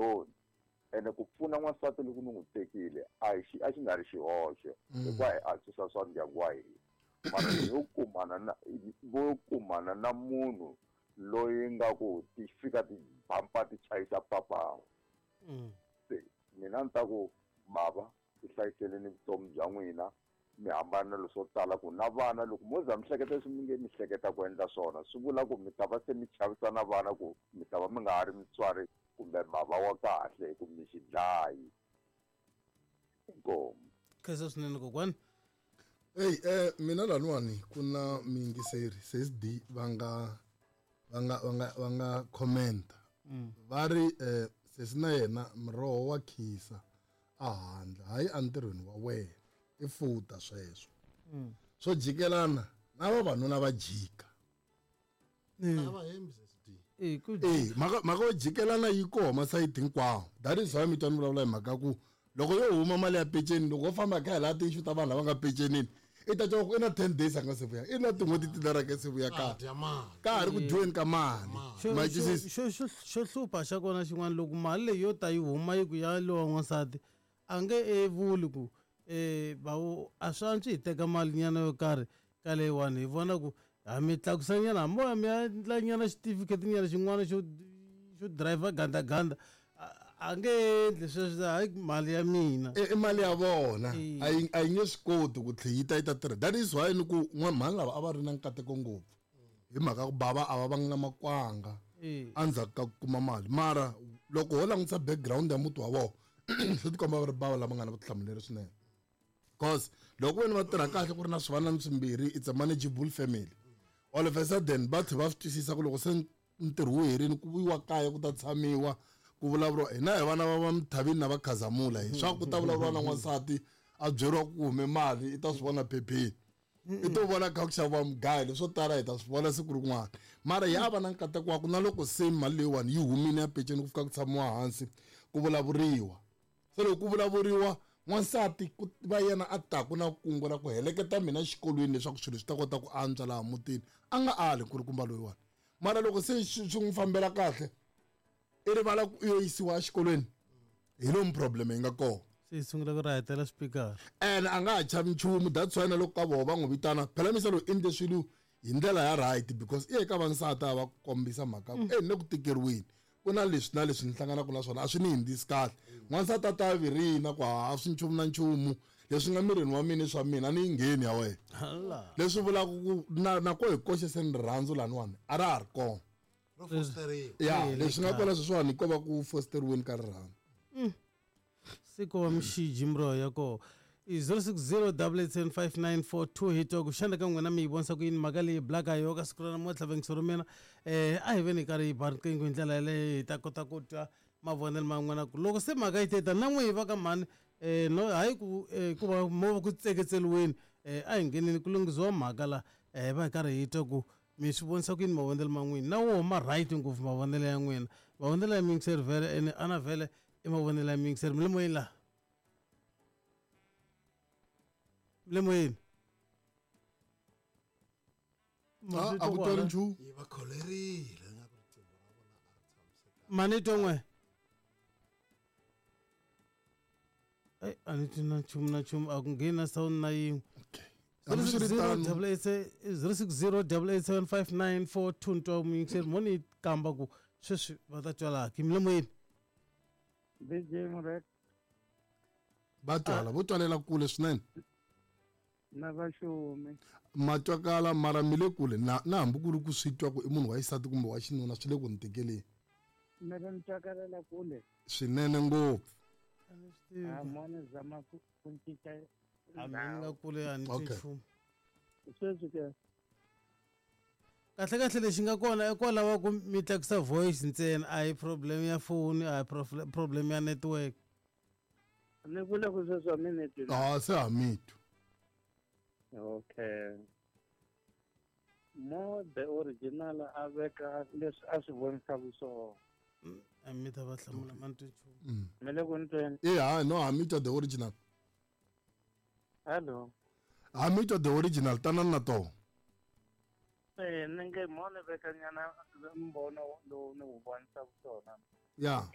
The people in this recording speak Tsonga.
alone. Ene ku pfuna n'wansati loko ni n'wi tekile a hi xi a xi nga ri xihoxo hikuva hi antswisa swa ndyangu wa hina. Mara yo kumana na vo kumana na munhu loyi nga ku ti fika ti bampa ti chayisa papawu. Se mina ni ta ku bava ti hlayiseleni vutomi bya n'wina mi hambana na leswo tala ku na vana loko mo za mi hleketa leswi mi nge mi hleketa ku endla swona swi vula ku mi ta va se mi chavisa na vana ku mi ta va mi nga ha ri mutswari kumbe bava wa kahle hi ku mi xi dlayi. Inkomu. Khensa swinene kokwani. Eyi mina laniwani ku na miyingiseri sis D va nga va nga va nga va nga commenta va ri sesi na yena muroho wa khisa a handle hayi entirhweni wa wena i futa sweswo swo jikelana na vavanuna va jika. A va hembi sis D. Eh, ku Eh, mhaka yo jikelana yi koho masayiti hinkwawo. That is why mi twa ni vulavula hi mhaka ku loko yo huma mali ya peceni loko wo famba kha hi laha ti-issue ta vanhu lava nga pecenini i ta twa ku i na 10 days a nga se vuya i na tin'hweti tinharhu a nga se vuya Ah, dya mali. ka ha ri ku dyiweni ka mali. Ma twisisa? Xo hlupha xa kona xin'wana loko mali leyi yo ta yi huma yi ku ya lowa n'wansati a nge e vuli ku bawo a swi antswi hi teka mali nyana yo karhi ka leyiwani hi vona ku ha mi tlakusa nyana hambi mo ya mi ya endla nyana xitifiketi nyana xin'wana xo driver gandaganda a nge endli sweswo hayi mali ya mina. I mali ya vona. A yi nge swi koti ku tlhe yi ta yi ta tirha. That is why ni ku mhani lava a va ri na nkateko ngopfu hi mhaka ku bava a va vanga na makwanga endzhaku ka ku kuma mali. Mara loko ho langutisa background ya muti wa vona swi tikomba va ri bava lava nga na vutihlamuleri swinene. Because loko vona va tirha kahle ku ri na swivanani swimbirhi, it's a manageable family. All of a sudden va tlhe va swi twisisa ku loko se ntirho wu herile ku vuyiwa kaya ku ta tshamiwa ku vulavuriwa hina hi vana va va Mthavini na va Khazamula hi swa ku ta vulavuriwa na n'wansati a byeriwa ku hume mali i ta swi vona phepheni. I to vona kha ku xaviwa mugayo leswo tala hi ta swi vona siku rin'wana. Mara ya va na nkateko wa ku na loko se mali leyiwani yi humile ya peceni ku fika ku tshamiwa hansi ku vulavuriwa. Se loko ku vulavuriwa n'wansati ku va yena a taku na kungu ra ku heleketa mina exikolweni leswaku swilo swi ta kota ku antswa laha mutini a nga ali nkulukumba loyiwani. Mara loko se swi n'wi fambela kahle i rivala ku u yo yisiwa exikolweni hi lomu problem yi nga kona. Se yi sungula ku rahetela swipikara. Ene a nga ha chavi nchumu, that's why na loko ka voho va n'wi vitana phela misa loyi endle swilo hi ndlela ya right because i ye ka vansati a va kombisa mhaka ku ni le ku tikeriweni ku na leswi na leswi ni hlanganaka na swona a swi ni hindzisi kahle. N'wansati a ta virina ku ha swi nchumu na nchumu leswi nga mirini wa mina i swa mina a ni yi ngheni ya wena. Leswi vulaka ku na ko hi koxe se ni rirhandzu laniwani a ra ha ri kona. Ro fosteriwa. Ya, leswi nga kona sweswiwani ko va ku fosteriweni ka rirhandzu. Siku wa mixiji miroho ya koho. I zero six zero double eight seven five nine four two hi twa ku xana ka n'wina mi yi vonisa ku yini mhaka leyi blaka ha yona ka siku ra namuntlha vayingiseri va mina. A hi veni hi karhi hi ba riqingho hi ndlela yaleyo hi ta kota ku twa mavonelo ma n'wina ku loko se mhaka yi teta na n'we hi va ka mhani no hayi ku ku va mo va ku tseketseliweni a hi ngheneni ku lunghisiwa mhaka la hi va hi karhi hi twa ku mi swi vonisa ku yini mavonelo ma n'wina na woho ma right ngopfu mavonelo ya n'wina mavonelo ya muyingiseri vhele ene ana vhele i mavonelo ya muyingiseri mi le moyeni laha mi le moyeni. A ku twali nchumu. Yi va kholerile nga ku riqingho ra vona a ri tshamisekanga. Mani twa n'we. Ai, a ni twi na nchumu na nchumu a ku ngheni na sound na yin'we. Okay. Hambiswiritano- Zero six zero double eight seven five nine four two ntwa muyingiseri mo ni kamba ku sweswi va ta twa laha ki mi le moyeni. DJ Murek. Va twala, vo twalela kule swinene. Na vaxumi. Ma twakala mara mi le kule na hambi ku ri ku swi twa ku i munhu wa xisati kumbe wa xinuna swi le ku ni tikeleni. Mi ri ni twakalela kule? Swinene ngopfu. A mo ni zama ku cinca A mi nga kule a ni twi nchumu. Sweswi ke? Kahle kahle lexi nga kona i kwalaho ku mi tlakusa voice ntsena a hi problem ya foni a hi problem ya network. Ni vula ku sweswi a mi ni twi. Ah, se ha mi twi. Okay. Mo the original a veka leswi a swi vonisaka swona. A mi ta va hlamula ma ni twi nchumu. Mi le ku ni tweni? E ha, no, ha mi twa the original. Hello. Ha mi twa the original, tanani na toho. Ni nge mo ni veka nyana mbono lowu ni wu vonisaka swona. Ya.